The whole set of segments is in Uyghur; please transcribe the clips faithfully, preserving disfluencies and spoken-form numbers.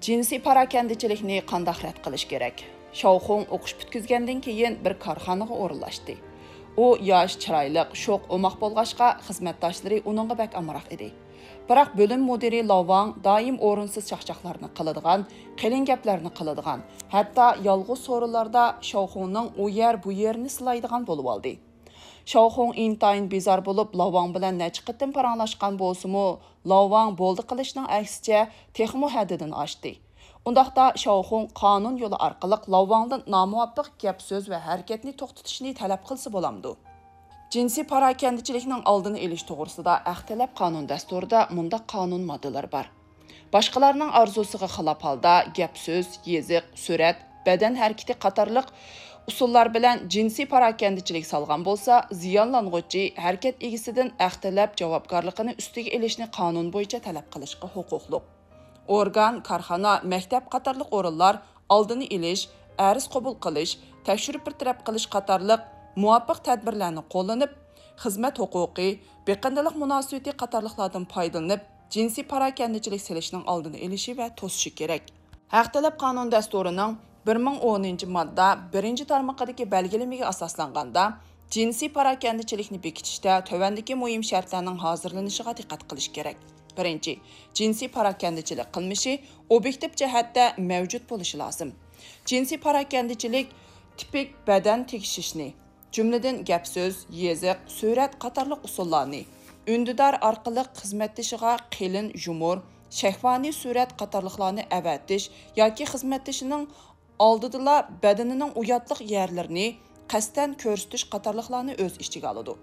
جىنسىي پاراكەندىچىلىكنى قانداق رەت قىلىش كېرەك؟ شاۋخۇڭ ئوقۇش پۈتكۈزگەندىن كېيىن بىر كارخانىغا ئورۇنلاشتى. ئۇ ياش، چىرايلىق، شوخ، ئوماق بولغاچقا، خىزمەتداشلىرى ئۇنىڭغا بەك ئامراق ئىدى. بىراق بۆلۈم مۇدىرى لاۋاڭ دائىم ئورۇنسىز چاقچاقلارنى قىلىدىغان، قېلىن گەپلەرنى قىلىدىغان، ھەتتا يالغۇز سورۇنلاردا شاۋخۇڭنىڭ ئۇ يەر، بۇ يېرىنى سىلايدىغان بولۇۋالدى. شاۋخۇڭ ئىنتايىن بىزار بولۇپ، لاۋاڭ بىلەن نەچچە قېتىم پاراڭلاشقان بولسىمۇ، لاۋاڭ بولدى قىلىشنىڭ ئەكسىچە، تېخىمۇ ھەددىدىن ئاشتى. ئۇنداقتا شاۋخۇڭ قانۇن يولى ئارقىلىق لاۋاڭدىن نامۇۋاپىق گەپ-سۆز ۋە ھەرىكەتنى توختىتىشنى تەلەپ قىلسا بولامدۇ؟ جىنسىي پاراكەندىچىلىكنىڭ ئالدىنى ئېلىش توغرىسىدا ھەق تەلەپ قانۇن دەستۇرىدا مۇنداق قانۇن ماددىلىرى بار. باشقىلارنىڭ ئارزۇسىغا خىلاپ ھالدا گەپ-سۆز، يېزىق، سۈرەت، بەدەن ھەرىكىتى قاتارلىق ئۇسۇللار بىلەن جىنسىي پاراكەندىچىلىك سالغان بولسا، زىيانلانغۇچى ھەرىكەت ئىگىسىدىن ھەق تەلەپ جاۋابكارلىقىنى ئۈستىگە ئېلىشنى قانۇن بويىچە تەلەپ قىلىشقا ھوقۇقلۇق. ئورگان، كارخانا، مەكتەپ قاتارلىق ئورۇنلار ئالدىنى ئېلىش، ئەرز قوبۇل قىلىش، تەكشۈرۈپ بىر تەرەپ قىلىش قاتارلىق مۇۋاپىق تەدبىرلەرنى قوللىنىپ، خىزمەت ھوقۇقى، بېقىندىلىق مۇناسىۋىتى قاتارلىقلاردىن پايدىلىنىپ، جىنسىي پاراكەندىچىلىك سېلىشنىڭ ئالدىنى ئېلىشى ۋە توسۇشى كېرەك. ھەق تەلەپ قانۇن دەستۇرىنىڭ بىر مىڭ ئونىنچى ماددا بىرىنچى تارمىقىدىكى بەلگىلىمىگە ئاساسلانغاندا، جىنسىي پاراكەندىچىلىكنى بېكىتىشتە تۆۋەندىكى مۇھىم شەرتلەرنىڭ ھازىرلىنىشىغا دىققەت قىلىش كېرەك. بىرىنچى، جىنسىي پاراكەندىچىلىك قىلمىشى ئوبيېكتىپ جەھەتتە مەۋجۇت بولۇشى لازىم. جىنسىي پاراكەندىچىلىك تىپىك بەدەن تېگىشىشنى، جۈملىدىن گەپ-سۆز، يېزىق، سۈرەت قاتارلىق ئۇسۇللارنى، ئۈندىدار ئارقىلىق خىزمەتدىشىغا قېلىن يۇمۇر، شەھۋانىي سۈرەت قاتارلىقلارنى ئەۋەتىش ياكى خىزمەتدىشىنىڭ ئالدىدىلا بەدىنىنىڭ ئۇياتلىق يەرلىرىنى قەستەن كۆرسىتىش قاتارلىقلارنى ئۆز ئىچىگە ئالىدۇ.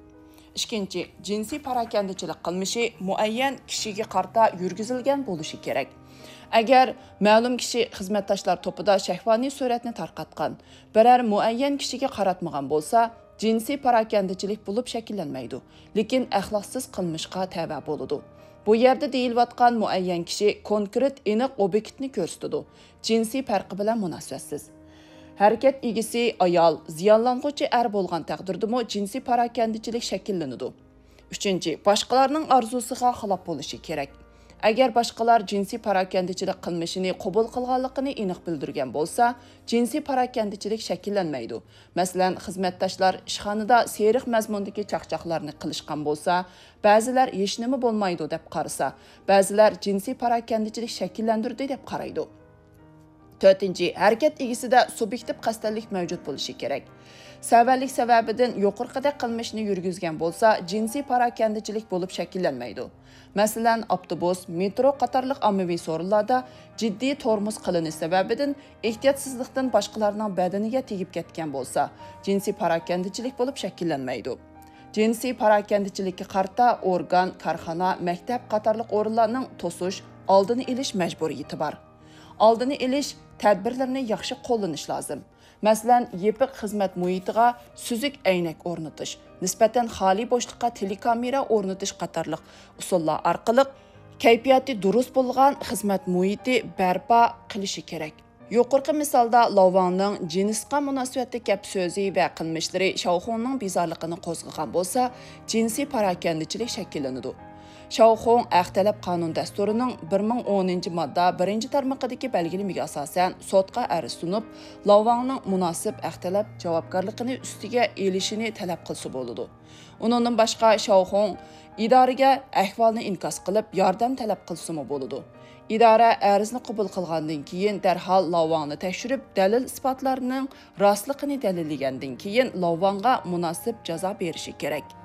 ئىككىنچى، جىنسىي پاراكەندىچىلىك قىلمىشى مۇئەييەن كىشىگە قارىتا يۈرگۈزۈلگەن بولۇشى كېرەك. ئەگەر مەلۇم كىشى خىزمەتداشلار توپىدا شەھۋانىي سۈرەتنى تارقاتقان، بىرەر مۇئەييەن كىشىگە قاراتمىغان بولسا، جىنسىي پاراكەندىچىلىك بولۇپ شەكىللەنمەيدۇ، لېكىن ئەخلاقسىز قىلمىشقا تەۋە بولىدۇ. بۇ يەردە دېيىلىۋاتقان مۇئەييەن كىشى كونكرېت، ئېنىق ئوبيېكتنى كۆرسىتىدۇ، جىنسىي پەرقى بىلەن مۇناسىۋەتسىز. ھەرىكەت ئىگىسى ئايال، زىيانلانغۇچى ئەر بولغان تەقدىردىمۇ جىنسىي پاراكەندىچىلىك شەكىللىنىدۇ. ئۈچىنچى، باشقىلارنىڭ ئارزۇسىغا خىلاپ بولۇشى كېرەك. ئەگەر باشقىلار جىنسىي پاراكەندىچىلىك قىلمىشىنى قوبۇل قىلغانلىقىنى ئېنىق بىلدۈرگەن بولسا، جىنسىي پاراكەندىچىلىك شەكىللەنمەيدۇ. مەسىلەن، خىزمەتداشلار ئىشخانىدا سېرىق مەزمۇندىكى چاقچاقلارنى قىلىشقان بولسا، بەزىلەر ھېچنېمە بولمايدۇ دەپ قارىسا، بەزىلەر جىنسىي پاراكەندىچىلىك شەكىللەندۈردى دەپ قارايدۇ. تۆتىنچى، ھەرىكەت ئىگىسىدە سۇبيېكتىپ قەستەنلىك مەۋجۇت بولۇشى كېرەك. سەۋەنلىك سەۋەبىدىن يۇقىرىقىدەك قىلمىشنى يۈرگۈزگەن بولسا، جىنسىي پاراكەندىچىلىك بولۇپ شەكىللەنمەيدۇ. مەسىلەن، ئاپتوبۇس، مېترو قاتارلىق ئاممىۋى سورۇنلاردا جىددىي تورمۇز قىلىنىش سەۋەبىدىن ئېھتىياتسىزلىقتىن باشقىلارنىڭ بەدىنىگە تېگىپ كەتكەن بولسا، جىنسىي پاراكەندىچىلىك بولۇپ شەكىللەنمەيدۇ. جىنسىي پاراكەندىچىلىككە قارىتا ئورگان، كارخانا، مەكتەپ قاتارلىق ئورۇنلارنىڭ توسۇش، ئالدىنى ئېلىش مەجبۇرىيىتى بار. ئالدىنى ئېلىش تەدبىرلىرىنى ياخشى قوللىنىش لازىم. مەسىلەن، يېپىق خىزمەت مۇھىتىغا سۈزۈك ئەينەك ئورنىتىش، نىسبەتەن خالىي بوشلۇققا تېلېكامېرا ئورنىتىش قاتارلىق ئۇسۇللار ئارقىلىق كەيپىياتى دۇرۇس بولغان خىزمەت مۇھىتى بەرپا قىلىشى كېرەك. يۇقىرىقى مىسالدا لاۋاڭنىڭ جىنسقا مۇناسىۋەتلىك گەپ سۆزى ۋە قىلمىشلىرى شاۋخۇڭنىڭ بىزارلىقىنى قوزغىغان بولسا، جىنسىي پاراكەندىچىلىك شەكىللىنىدۇ. شاۋخۇڭ ھەق تەلەپ قانۇن دەستۇرىنىڭ بىر مىڭ ئونىنچى ماددا بىرىنچى تارمىقىدىكى بەلگىلىمىگە ئاساسەن سوتقا ئەرز سۇنۇپ، لاۋاڭنىڭ مۇناسىپ ھەق تەلەپ جاۋابكارلىقىنى ئۈستىگە ئېلىشىنى تەلەپ قىلسا بولىدۇ. ئۇنىڭدىن باشقا شاۋخۇڭ ئىدارىگە ئەھۋالنى ئىنكاس قىلىپ، ياردەم تەلەپ قىلسىمۇ بولىدۇ. ئىدارە ئەرزنى قوبۇل قىلغاندىن كېيىن، دەرھال لاۋاڭنى تەكشۈرۈپ، دەلىل-ئىسپاتلارنىڭ راستلىقىنى دەلىللىگەندىن كېيىن، لاۋاڭغا مۇناسىپ جازا بېرىشى كېرەك.